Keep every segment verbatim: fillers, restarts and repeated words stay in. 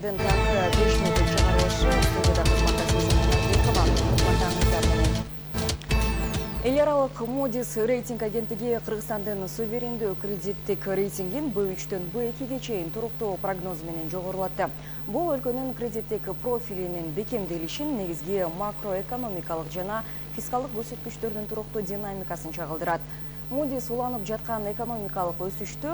жаңалыктардын таңкы беш мүнөттүк чыгарылышы студияда кызматташыңыздар менен. Эл аралык Moody's рейтинг агенттиги Кыргызстандын суверендүү кредиттик рейтингин Б үчтөн Б экиге чейин туруктуу прогноз менен жогорулатты. Бул өлкөнүн кредиттик профилинин бекемделишин, негизги макроэкономикалык жана фискалдык көрсөткүчтөрдүн туруктуу динамикасын чагылдырат. Moody's уланып жаткан экономикалык өсүштү,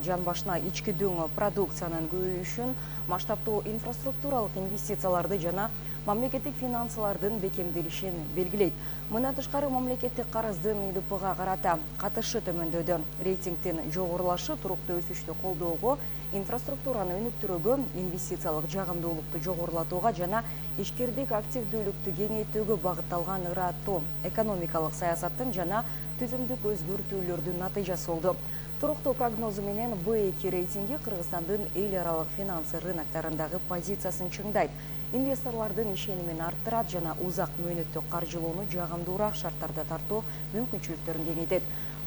жан башына ички дөң продукциянын көбөйүшүн, масштабтуу инфраструктуралык инвестицияларды жана мамлекеттик финансылардын бекемделишин белгилейт. Мындан тышкары мамлекеттик карыздын И Д Пга карата катышы төмөндөдү. Рейтингдин жогорулашы туруктуу өсүштү колдоого, инфраструктураны өнүктүрүүгө, инвестициялык жагымдуулукту жогорулатууга жана ишкердик активдүүлүктү кеңейтүүгө багытталган ыраттуу экономикалык саясаттын жана түзүмдүк өзгөртүүлөрдүн натыйжасы болду. Туруктуу прогнозу менен Б эки рейтинги Кыргызстандын эл аралык финансы рыноктарындагы позициясын чыңдайт, инвесторлордун ишенимин арттырат жана узак мөөнөттүк каржылоону жагымдуураак шарттарда тартуу мүмкүнчүлүктөрүн кеңейтет.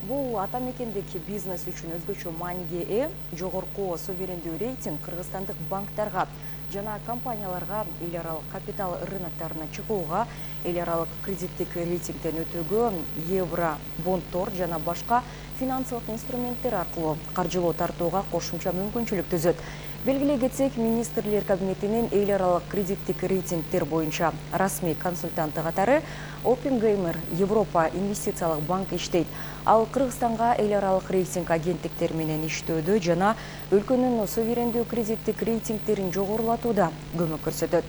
Бул ата мекендик бизнес үчүн өзгөчө мааниге ээ. Жогорку суверендүү рейтинг кыргызстандык банктарга жана компанияларга эл аралык капитал рыноктарына чыгууга, эл аралык кредиттик рейтингден өтүүгө, евро бонддор жана башка финансылык инструменттер аркылуу каржылоо тартууга кошумча мүмкүнчүлүк түзөт. Белгилей кетсек, министрлер кабинетинин эл аралык кредиттик рейтингдер боюнча расмий консультанты катары Оппенгеймер Европа инвестициялык банк иштейт. Ал Кыргызстанга эл аралык рейтинг агенттиктер менен иштөөдө жана өлкөнүн суверендүү кредиттик рейтингдерин жогорулатууда көмөк көрсөтөт.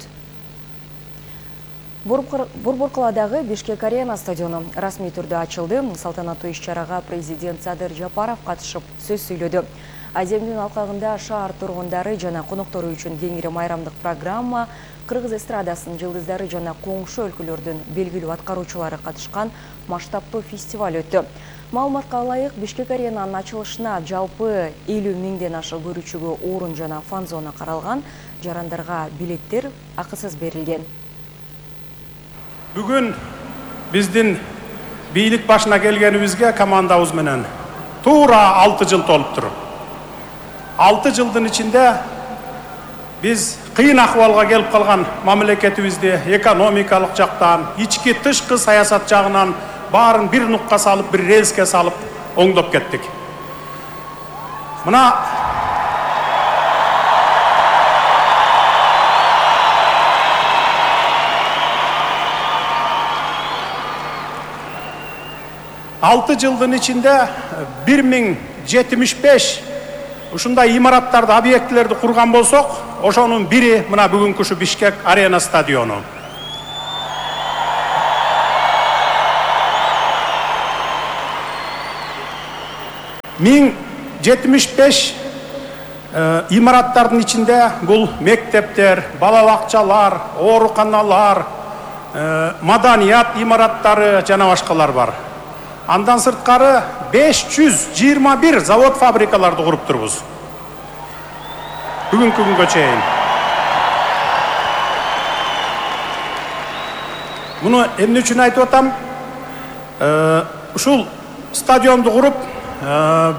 Борбор-каладагы Бишкек Арена стадиону расмий түрдө ачылды. Салтанаттуу иш-чарага президент Садыр Жапаров катышып сөз сүйлөдү. Аземдин алкагында шаар тургундары жана коноктору үчүн кеңири майрамдык программа, кыргыз эстрадасынын жылдыздары жана коңшу өлкөлөрдүн белгилүү аткаруучулары катышкан масштабтуу фестиваль өттү. Маалыматка ылайык, Бишкек Аренанын ачылышына жалпы элүү миңден ашык көрүүчүгө орун жана фан-зона каралган, жарандарга билеттер акысыз берилген. Бүгүн биздин бийлик башына келгенибизге командабыз менен туура алты жыл толуптур. алты жылдын ичинде биз кыйын акыбалга келип калган мамлекетибизди экономикалык жактан, ички тышкы саясат жагынан баарын бир нукка салып, бир рельске салып оңдоп кеттик. Мына алты жылдын ичинде бир миң жетимиш беш ушундай имараттарды, объектилерди курган болсок, ошонун бири мына бүгүнкү ушу Бишкек Арена стадиону. миң жетимиш беш имараттардын ичинде бул мектептер, бала бакчалар, ооруканалар, маданият имараттары жана башкалар бар. Андан сырткары беш жүз жыйырма бир завод фабрикаларды куруп турбуз. Бүгүнкү күнгө чейин. Муну эмне үчүн айтып атам? Ушул стадионду куруп,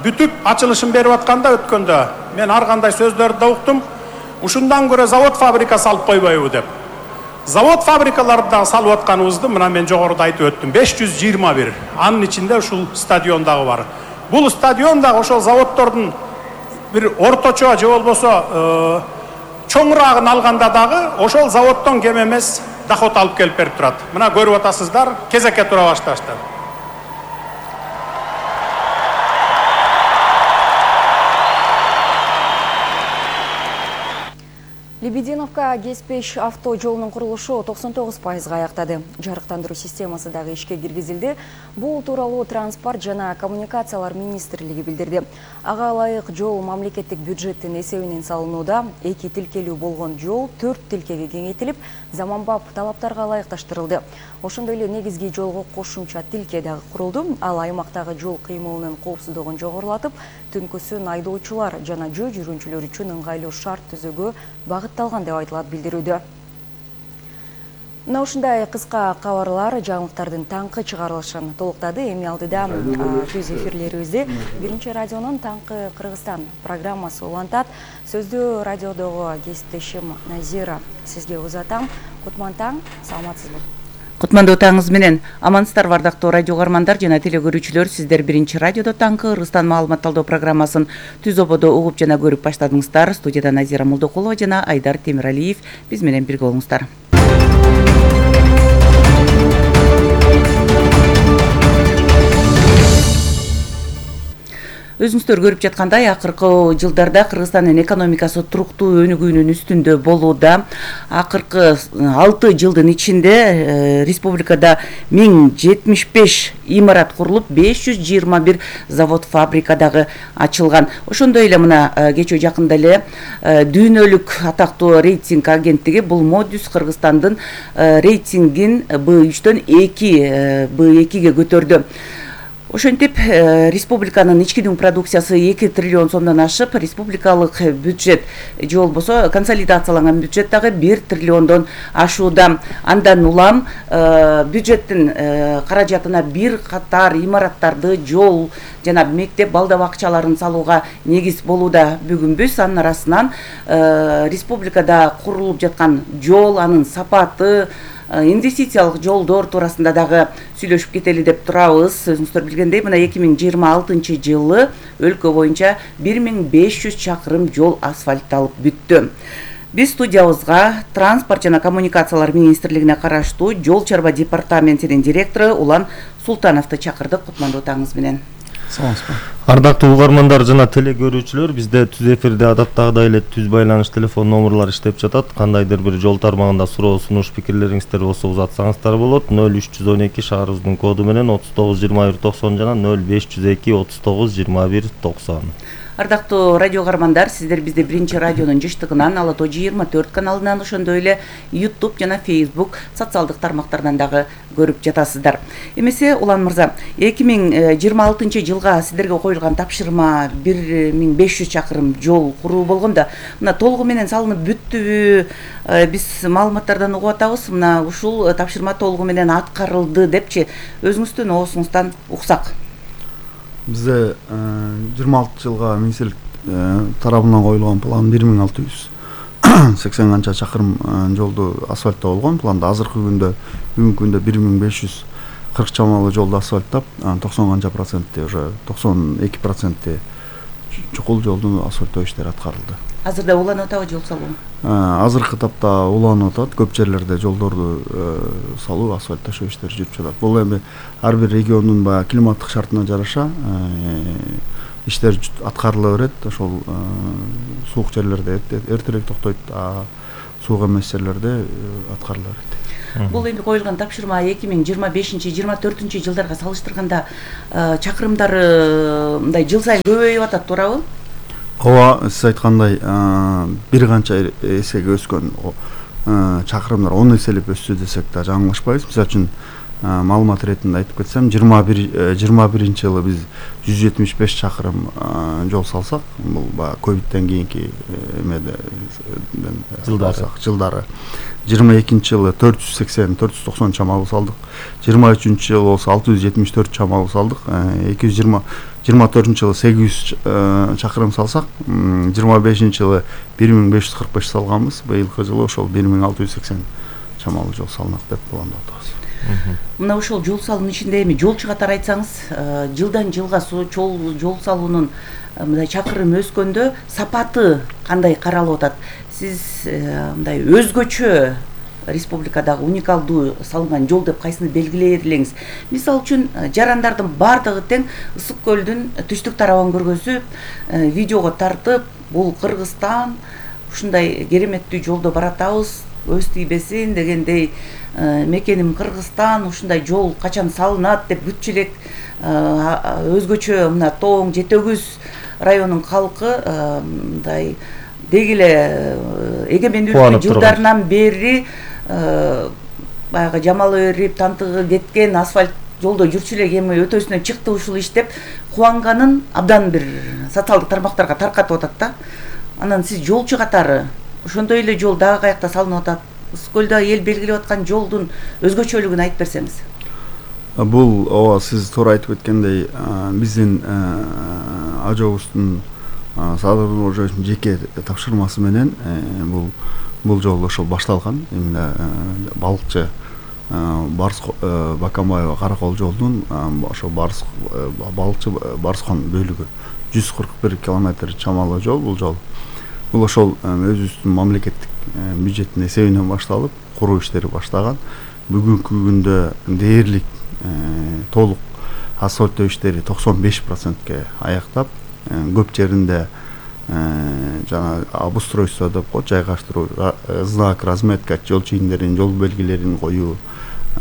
бүтүп ачылышын берип атканда өткөндө мен ар кандай сөздөрдү да уктум. Ушундан көрө завод фабрика салып койбойбу деп. Завод фабрикаларды да салып атканыбызды мына мен жогоруда айтып өттүм. беш жүз жыйырма бир. Анын ичинде ушул стадион дагы бар. Бул стадион дагы ошол заводдордун бир орточо же болбосо чоңураагын алганда дагы ошол заводдон кем эмес доход алып келип берип турат. Мына көрүп атасыздар, кезекке тура башташты. Лебединовка Кеспеш авто жолунун курулушу токсон тогуз пайызга аяктады. Жарыктандыруу системасы дагы ишке киргизилди. Бул тууралуу транспорт жана коммуникациялар министрлиги билдирди. Ага ылайык жол мамлекеттик бюджеттин эсебинен салынууда. Эки тилкелүү болгон жол төрт тилкеге кеңейтилип, заманбап талаптарга ылайыкташтырылды. Ошондой эле негизги жолго кошумча тилке дагы курулду. Ал аймактагы жол кыймылынын коопсуздугун жогорулатып, түнкүсүн айдоочулар жана жөө жүргүнчүлөр үчүн ыңгайлуу шарт түзүүгө багытталган деп айтылат билдирүүдө. Мына ушундай кыска кабарлар жаңылыктардын таңкы чыгарылышын толуктады. Эми алдыда түз эфирлерибизди биринчи радионун Таңкы Кыргызстан программасы улантат. Сөздү радиодогу кесиптешим Назира сизге узатам. Кутман таң, саламатсызбы? Кутмандуу таңыңыз менен амансыздарбы ардактуу радио каармандар жана телекөрүүчүлөр. Сиздер биринчи радиодо Таңкы Кыргызстан маалыматталдоо программасын түз ободо угуп жана көрүп баштадыңыздар. Студияда Назира Молдокулова жана Айдар Темиралиев биз менен бирге болуңуздар. Өзүңүздөр көрүп жаткандай, акыркы жылдарда Кыргызстандын экономикасы туруктуу өнүгүүнүн үстүндө болууда. Акыркы алты жылдын ичинде республикада миң жетимиш беш имарат курулуп, беш жүз жыйырма бир завод, фабрика дагы ачылган. Ошондой эле мына кечээ жакында эле дүйнөлүк атактуу рейтинг агенттиги бул Модис Кыргызстандын рейтингин Б үчтөн эки Б экиге көтөрдү. Ошентип, республиканын ички дүң продукциясы эки триллион сомдон ашып, республикалык бюджет же болбосо консолидацияланган бюджет дагы бир триллиондон ашууда. Андан улам бюджеттин каражатына бир катар имараттарды, жол жана мектеп, балда бакчаларын салууга негиз болууда. Бүгүн биз анын арасынан республикада курулуп жаткан жол, анын сапаты, инвестициялык жолдор туурасында дагы сүйлөшүп кетели деп турабыз. Өзүңүздөр билгендей, мына эки миң жыйырма алтынчы жылы өлкө боюнча бир миң беш жүз чакырым жол асфальтталып бүттү. Биз студиябызга Транспорт жана коммуникациялар министрлигине караштуу Жол чарба департаментинин директору Улан Султановду чакырдык. Кутмандуу таңыңыз менен. Саламатсызбы. Ардактуу угармандар жана телекөрүүчүлөр, бизде түз эфирде адаттагыдай эле түз байланыш телефон номерлары иштеп жатат. Кандайдыр бир жол тармагында суроо, сунуш, пикирлериңиздер болсо узатсаңыздар болот. нөл үч жүз он эки шаарыбыздын коду менен отуз тогуз жыйырма бир токсон жана нөл беш жүз эки отуз тогуз жыйырма бир токсон. Ардактуу радио каармандар, сиздер бизди биринчи радионун жыштыгынан, Ала тоо жыйырма төрт каналынан, ошондой эле YouTube жана Facebook социалдык тармактардан дагы көрүп жатасыздар. Эмесе Улан мырза, эки миң жыйырма алтынчы жылга сиздерге коюлган тапшырма бир миң беш жүз чакырым жол куруу болгондо, мына толугу менен салынып бүттүбү? Биз маалыматтардан угуп атабыз, мына ушул тапшырма толугу менен аткарылды депчи, өзүңүздүн оосуңуздан уксак. Бизде жыйырма алты жылга министрлик тарабынан коюлган план бир миң алты жүз сексен канча чакырым жолду асфальттоо болгон. Планда азыркы күндө, бүгүнкү күндө бир миң беш жүз кырк чамалуу жолду асфальттап, токсон канча процентти, уже токсон эки процентти чукул жолдун асфальттоо иштери аткарылды. Азырда уланып атабы жол салуу? Азыркы тапта уланып атат. Көп жерлерде жолдорду салуу, асфальтташуу иштери жүрүп жатат. Бул эми ар бир региондун баягы климаттык шартына жараша иштер аткарыла берет. Ошол суук жерлерде эртерээк токтойт, а суук эмес жерлерде аткарыла берет. Бул эми коюлган тапшырма эки миң жыйырма бешинчи жыйырма төртүнчү жылдарга салыштырганда чакырымдары мындай жыл сайын көбөйүп атат, туурабы? Ооба, сиз айткандай бир канча эсеге өскөн чакырымдар он эселеп өссү десек да жаңылышпайбыз. Мисалы үчүн маалымат иретинде айтып кетсем, жыйырма биринчи жылы биз жүз жетимиш беш чакырым жол салсак, бул баягы ковидтен кийинки эмеде жылдары жыйырма экинчи жылы төрт жүз сексен төрт жүз токсон чамалуу салдык. жыйырма үчүнчү жылы болсо алты жүз жетимиш төрт чамалуу салдык. эки жүз жыйырма жыйырма төртүнчү жылы сегиз жүз чакырым салсак, жыйырма бешинчи жылы бир миң беш жүз кырк беш салганбыз. Быйылкы жылы ошол бир миң алты жүз сексен чамалуу жол салынат деп пландап атабыз. Мына ошол жол салуунун ичинде эми жолчу катары айтсаңыз, жылдан жылга жол салуунун мындай чакырым өскөндө сапаты кандай каралып атат? Сиз мындай өзгөчө республикадагы уникалдуу салынган жол деп кайсыны белгилей элеңиз? Мисалы үчүн, жарандардын бардыгы тең Ысык көлдүн түштүк тарабын көргөзүп, видеого тартып, бул Кыргызстан ушундай кереметтүү жолдо баратабыз, өз тийбесин дегендей, мекеним Кыргызстан, ушундай жол качан салынат деп бүт элек өзгөчө мына Тоң, Жетөгүз районунун калкы мындай деги эле эгемендүүлүктүн жылдарынан бери баягы жамалы берип, тантыгы кеткен асфальт жолдо жүрчү элек эми өтөсүнөн чыкты ушул иш деп кубанганын абдан бир социалдык тармактарга таркатып атат да. Анан сиз жолчу катары ошондой эле жол дагы каякта салынып атат Ысык көлдө эл белгилеп аткан жолдун өзгөчөлүгүн айтып берсеңиз. Бул ооба сиз туура айтып кеткендей, биздин ажообуздун Садыр Нуркожоевдун жеке тапшырмасы менен бул бул жол ошол башталган. Эмне балыкчы Барыс Бакамбаева Каракол жолдун ошо Барыс балыкчы Барыскон бөлүгү жүз кырк бир километр чамалуу жол бул жол. Бул ошол өзүбүздүн мамлекеттик бюджеттин эсебинен башталып, куруу иштери баштаган. Бүгүнкү күндө дээрлик толук асфальттоо иштери токсон беш процентке аяктап, көп жеринде жана обустройство деп коет, жайгаштыруу, знак, разметка, жол чийимдерин, жол белгилерин коюу,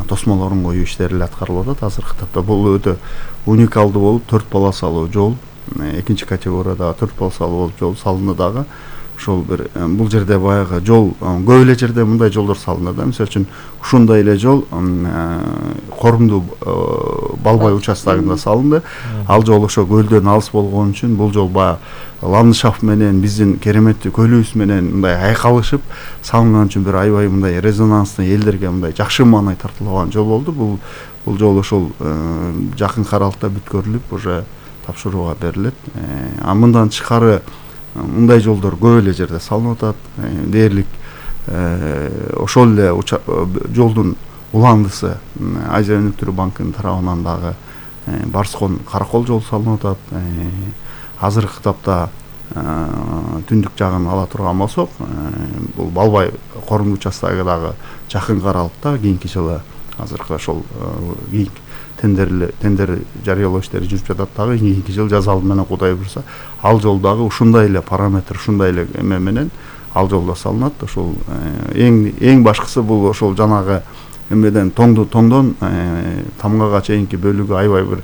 тосмолорун коюу иштери аткарылып атат азыркы тапта. Бул өтө уникалдуу болуп, төрт полосалуу жол, экинчи категориядагы төрт полосалуу болуп жол салынды дагы. Ошол бир бул жерде баягы жол көп эле жерде мындай жолдор салынат да. Мисалы үчүн ушундай эле жол Корумдуу Балбай участогунда салынды. Ал жол ошо көлдөн алыс болгон үчүн бул жол баягы ландшафт менен биздин кереметтүү көлүбүз менен мындай айкалышып салынган үчүн бир аябай мындай резонанстуу, элдерге мындай жакшы маанай тартылган жол болду. Бул бул жол ошол жакынкы аралыкта бүткөрүлүп уже тапшырууга берилет. А мындан тышкары мындай жолдор көп эле жерде салынып атат. Дээрлик ошол эле жолдун уландысы Азия өнүктүрүү банкынын тарабынан дагы Барыскон Каракол жол салынып атат. Азыркы тапта түндүк жагын ала турган болсок, бул Балбай Корумдуу участогундагы жакынкы аралыкта кийинки жылы азыркы ошол кийинки тендер тендер жарыялоо иштери жүрүп жатат дагы. Кийинки жыл жаз алды менен Кудай буйруса ал жол дагы ушундай эле параметр, ушундай эле эме менен ал жолдо салынат. Ошол эң эң башкысы бул ошол жанагы эмеден тоңду тоңдон Тамгага чейинки бөлүгү аябай бир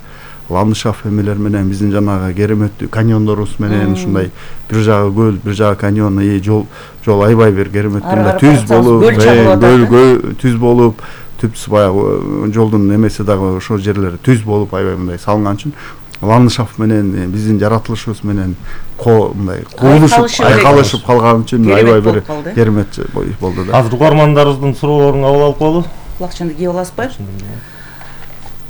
ландшафт эмелер менен биздин жанагы кереметтүү каньондорубуз менен ушундай бир жагы көл, бир жагы каньон, жол жол аябай бир кереметтүү түз болуп, көл түз болуп, түпсү баягы жолдун эмеси дагы ошол жерлери түз болуп аябай мындай салынган үчүн ландшафт менен биздин жаратылышыбыз менен ко мындай куулушуп айкалышып калган үчүн аябай бир керемет болду да. Азыр угармандарыбыздын суроолорун кабыл алып коелу. Кулакчанды кийип аласызбы?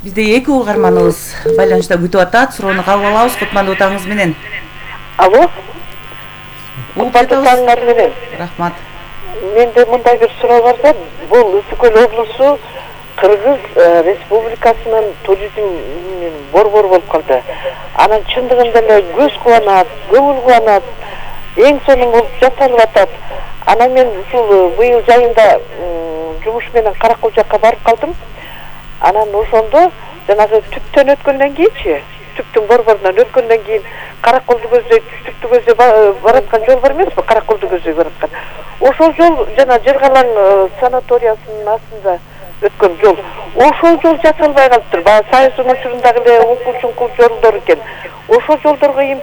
Бизде эки угарманыбыз байланышта күтүп атат. Суроону кабыл алабыз. Кутмандуу таңыңыз менен. Алло. Кутмандуу таңыңар менен. Рахмат. Менде мындай бир суроо бар да. Бул Ысык көл облусу Кыргыз Республикасынын туризм борбору болуп калды. Анан чындыгында эле көз кубанат, көңүл кубанат, эң сонун болуп жасалып атат. Анан мен ушул быйыл жайында жумуш менен Каракол жакка барып калдым. Анан ошондо жанагы түптөн өткөндөн кийинчи, түптүн борборунан өткөндөн кийин Караколду көздөй, түптү көздөй бараткан жол бар эмеспи? Караколду көздөй бараткан. Ошол жол жана Жыргалаң санаториясынын астында өткөн жол. Ошол жол жасалбай калыптыр. Баягы Союздун учурундагы эле укул-чуңкул жолдор экен. Ошол жолдорго